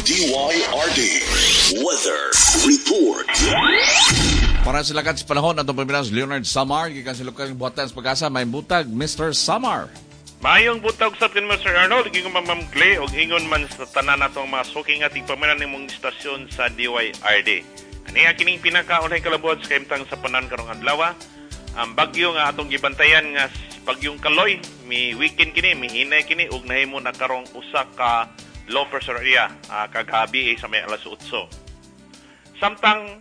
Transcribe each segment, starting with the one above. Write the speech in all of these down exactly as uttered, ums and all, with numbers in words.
D Y R D Weather Report. Para sa lakat sa panahon, atong pamilas Leonard Samar, gikan sa lokal buhatan sa PAGASA, maayong buntag, Mister Samar. Maayong buntag sa kanimo, Sir Arnold, ingon man, Ma'am Clay, ug ingon man sa tanan natong mga suking ating pamilan nimong istasyon sa D Y R D. Ani kining pinakaunahing kalabuhan sa kahimtang sa panahon karong adlaw. Ang bagyo nga atong gibantayan nga bagyong Kaloy, mi weekend kini, mihinay kini ug nahimo na karong usa ka low pressure area uh, kagabi eh, sa may alas otso. Samtang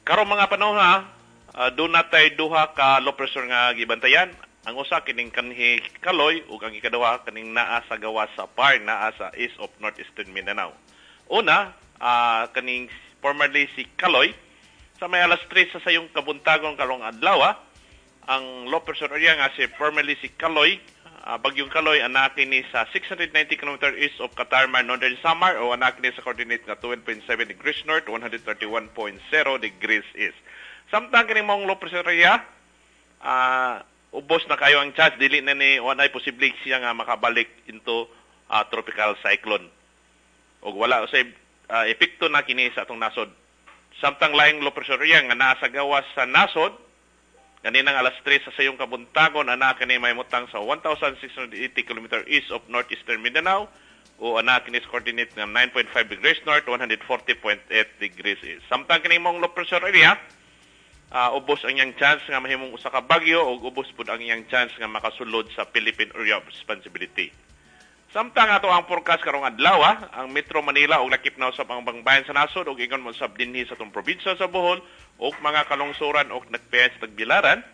karong mga panahon ha, uh, doon natay duha ka low pressure nga gibantayan. Ang usa kining kanhi Kaloy ug ang ikaduha kaning naa sa gawas sa par, naa sa east of northeastern Mindanao. Una, uh, kaning formerly si Kaloy, sa may alas tres sa sayong kabuntagon karong adlaw, ang low pressure area nga si formerly si Kaloy, uh, bagyong Kaloy, anaa kini sa six hundred ninety kilometers east of Catarman, Northern Samar, o anaa kini sa coordinate nga twelve point seven degrees north, one hundred thirty-one point zero degrees east. Samtang kining maong low pressure area, uh, ubos na kayo ang chance, dili na ni walay posible siya nga makabalik into uh, tropical cyclone. Og wala usay uh, epekto na kini sa atong nasod. Samtang laing low pressure area nga naa sa gawas sa nasod, kaninang alas tres sa sayong kabuntagon, anaa kini mahimutang sa one thousand six hundred eighty kilometers east of northeastern Mindanao o anaa kini sa coordinate nga nine point five degrees north, one hundred forty point eight degrees east. Samtang kini mong low pressure area, uh, ubos ang iyang chance nga mahimong usa ka bagyo ug ubos pud ang iyang chance nga makasulod sa Philippine Area of Responsibility. Samtang ato ang forecast karong adlaw, ang Metro Manila ug lakip na usab ang bangbayan sa nasod ug ingon mo sab dinhi sa atong probinsya sa Bohol ug mga kalungsuran ug nagpiyan sa Tagbilaran.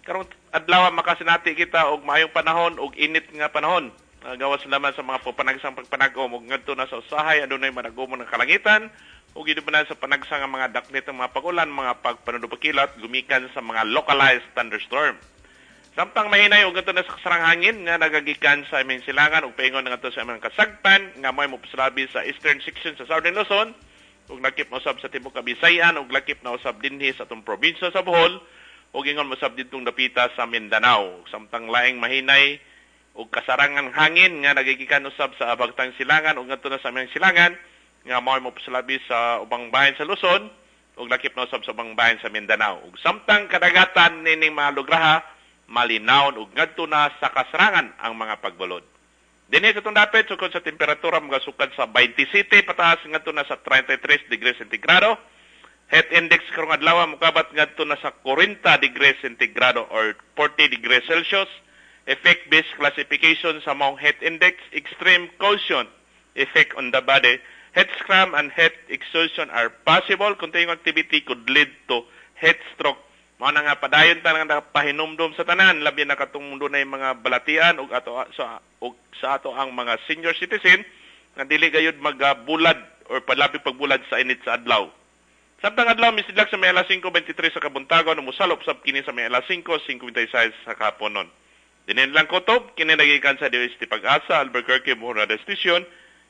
Karong adlaw, makasinati kita og maayong panahon ug init nga panahon. Uh, gawas laman sa mga panagsang pagpanag-om ug ngadto na sa usahay adunay managumon ng kalangitan ug na sa panagsang nga mga daknit ng mga pagulan, mga pagpanudupakilat gumikan sa mga localized thunderstorm. Samtang mahinay og ngadto na sa kasarang hangin nga nagagikan sa aming silangan ug paingon ngadto sa aming kasagpan nga may mopasalabi sa eastern section sa Southern Luzon ug lakip na usab sa tibuok Kabisayan ug lakip na usab dinhi sa atong probinsya sa Bohol ug ingon mosab didtong dapita sa Mindanao. Samtang laing mahinay ug kasarangan hangin nga nagigikan usab sa abagtang silangan ug ngadto na sa aming silangan nga mao mopasalabi sa ubang bahin sa Luzon ug lakip na usab sa ubang bahin sa Mindanao. Ug samtang kadagatan nining mga lugraha, malinawon ug ngadto na sa kasarangan ang mga pagbalod. Dinhi sa atong dapit, sukod sa temperatura magasukad sa twenty-seven pataas ngadto na sa thirty-three degrees centigrado. Heat index karong adlaw mokabat ngadto na sa forty degrees centigrado or forty degrees Celsius. Effect based classification sa maong heat index, extreme caution effect on the body. Heat scram and heat exhaustion are possible. Continuing activity could lead to heat stroke. Mao na nga padayon ta nga pahinumdom sa tanan, labi na katong dunay mga balatian ug ato sa ug sa ato ang mga senior citizen nga dili gayud magabulad or palabi pagbulad sa init sa adlaw. Samtang adlaw misidlak sa may alas singko twenty-three sa kabuntagon, musalop sab kini sa may alas singko singkwenta y sais sa kahaponon. Dinin lang kutob, kini nagikan sa D O S T PAGASA, Albuquerque, Bohol Station,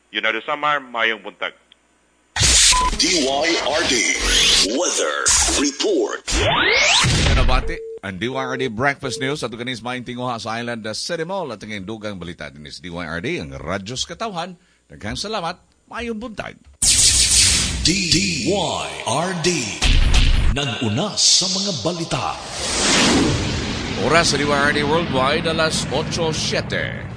Leonardo Samar, mayong buntag. D Y R D Weather Report. Nabati ang D Y R D Breakfast News at ganis maayong tinguha sa Island City Mall at ang dugang balita din sa D Y R D, ang radyo sa katawhan. Daghang salamat, maayong buntag. D Y R D. Nag-una sa mga balita. Oras sa D Y R D Worldwide, alas otso siyete.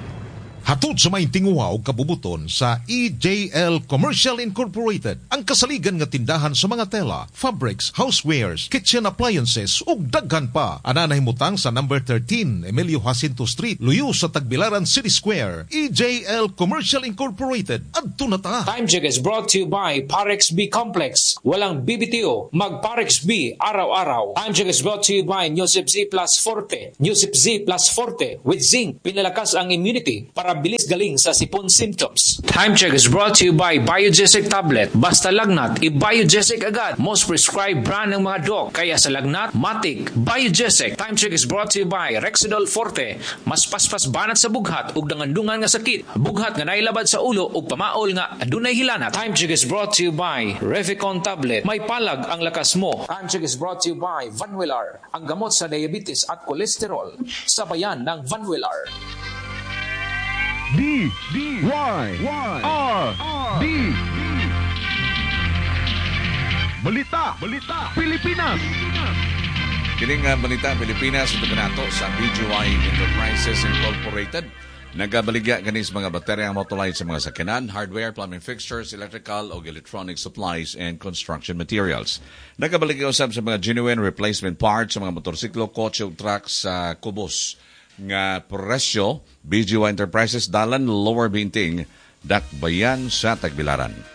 Hatod sa may tinguha og kabubuton sa E J L Commercial Incorporated, ang kasaligan nga tindahan sa mga tela, fabrics, housewares, kitchen appliances ug daghan pa. Ana nahimutang sa number thirteen Emilio Jacinto Street, luyo sa Tagbilaran City Square. E J L Commercial Incorporated. Adto na ta. Time Check is brought to you by Parex B Complex. Walang B B T O. Mag Parex B araw-araw. Time Check is brought to you by Newsip Z Plus Forte. Newsip Z Plus Forte with zinc. Pinalakas ang immunity para bilis galing sa sipon symptoms. Time Check is brought to you by Biogesic Tablet. Basta lagnat, i-Biogesic agad. Most prescribed brand ng mga doc. Kaya sa lagnat, matik, Biogesic. Time Check is brought to you by Rexidol Forte. Mas paspas banat sa bughat ug dangandungan nga sakit. Bughat nga nailabad sa ulo ug pamaol nga adunay hilanat. Time Check is brought to you by Reficon Tablet. May palag ang lakas mo. Time Check is brought to you by Vanwelar. Ang gamot sa diabetes at kolesterol. Sabayan ng Vanwelar. D D Y R D. Balita, Balita, Pilipinas. Kining uh, Balita Pilipinas ito kanato sa B G Y Enterprises Incorporated. Nagabaligya kani sa mga baterya, motolite sa mga sakyanan, hardware, plumbing fixtures, electrical o electronic supplies and construction materials. Nagabaligya usab sa mga genuine replacement parts sa mga motorsiklo, kotse ug truck sa kubos nga presyo. B G Y Enterprises, Dalan, Lower Binting, Dakbayan sa Tagbilaran.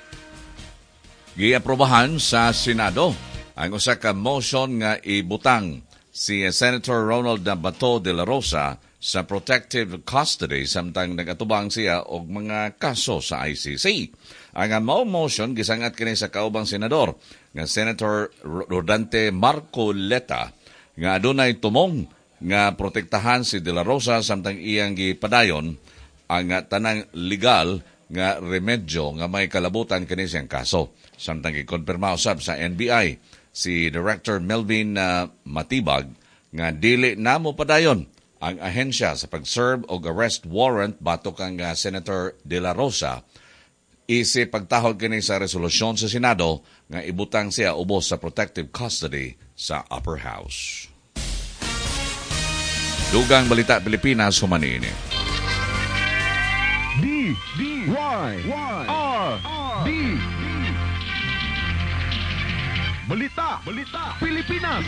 Giaprobahan sa Senado ang usa ka motion nga ibutang si Senator Ronald Bato de la Rosa sa protective custody samtang nagatubang siya og mga kaso sa I C C. Ang mao motion gisangat kini sa kaubang senador nga Senator Rodante Marcoleta nga adunay tumong nga protektahan si de la Rosa samtang iyang gipadayon ang tanang legal nga remedyo nga may kalabutan kini siyang kaso. Samtang gikonpirma usab sa N B I si Director Melvin uh, Matibag nga dili na mo padayon ang ahensya sa pag-serve og arrest warrant batok kang uh, Senator De La Rosa isip pagtahod kini sa resolusyon sa Senado nga ibutang siya ubos sa protective custody sa Upper House. Dugang Balita Pilipinas human niini. D D Y Y R D. Balita, Balita, Pilipinas.